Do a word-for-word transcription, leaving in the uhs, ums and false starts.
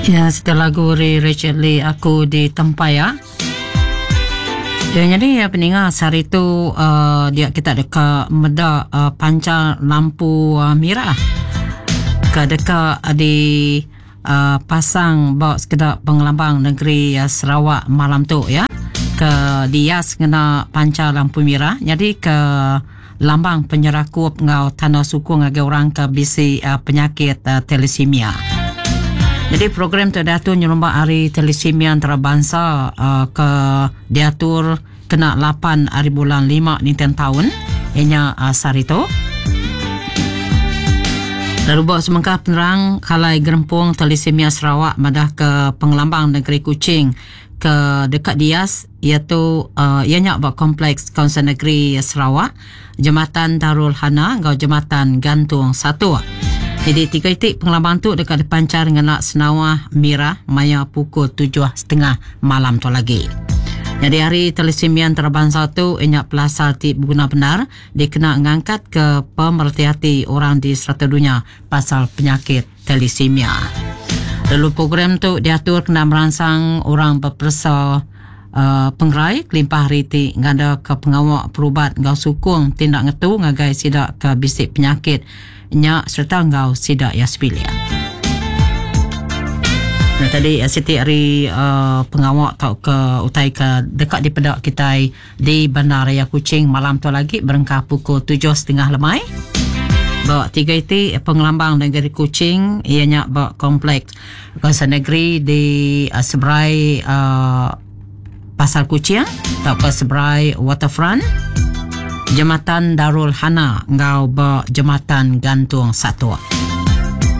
Ya, setelah lagu ari Richard Lee aku di Tempaya. Ya, jadi ya, peninga sehari tu uh, dia kita deka meda uh, pancar lampu uh, merah ke deka di uh, pasang ba sekeda pengelambang negeri uh, Sarawak malam tu ya ke dias ngena pancar lampu merah jadi ke lambang penyerakup ngau tanda sukung ngagai orang ke bisi uh, penyakit uh, thalassemia. Jadi program tu diatur nyerumba hari thalassemia antarabangsa uh, ke diatur kena lapan hari bulan lima ninten tahun ianya uh, sehari tu. Lalu buat semengkah penerang kalai gerempung thalassemia Sarawak madah ke pengelambang negeri Kuching ke dekat Dias iaitu uh, ianya buat kompleks Kaunsil Negeri Sarawak, Jembatan Darul Hana ngau Jembatan Gantung Satu. Jadi tiga itik pengelambang tu dekat dipancar dengan senawah merah maya pukul tujuh setengah malam tu lagi. Jadi hari thalassemia antarabangsa tu ianya pelasar ti berguna benar dikena ngangkat ke pemerhati hati orang di serata dunia pasal penyakit thalassemia. Lalu program tu diatur kena merangsang orang berperesa uh, penggerai kelimpah hari ti ngada ke pengawak perubat ngau sukung tindak ngetu ngagai sidak ke bisik penyakit nya serta ngau sidak ya sebilik. Nah, tadi siti hari uh, pengawak tau ke utai ke dekat di pedak kita di Bandaraya Kuching malam tu lagi berengkah pukul tujuh setengah lemai. Bak tiga iti pengelambang negeri Kuching ianya bak kompleks kawasan negeri di uh, seberai uh, Pasar Kuching atau ke seberai Waterfront, Jembatan Darul Hana ngau bak Jembatan Gantung Satu.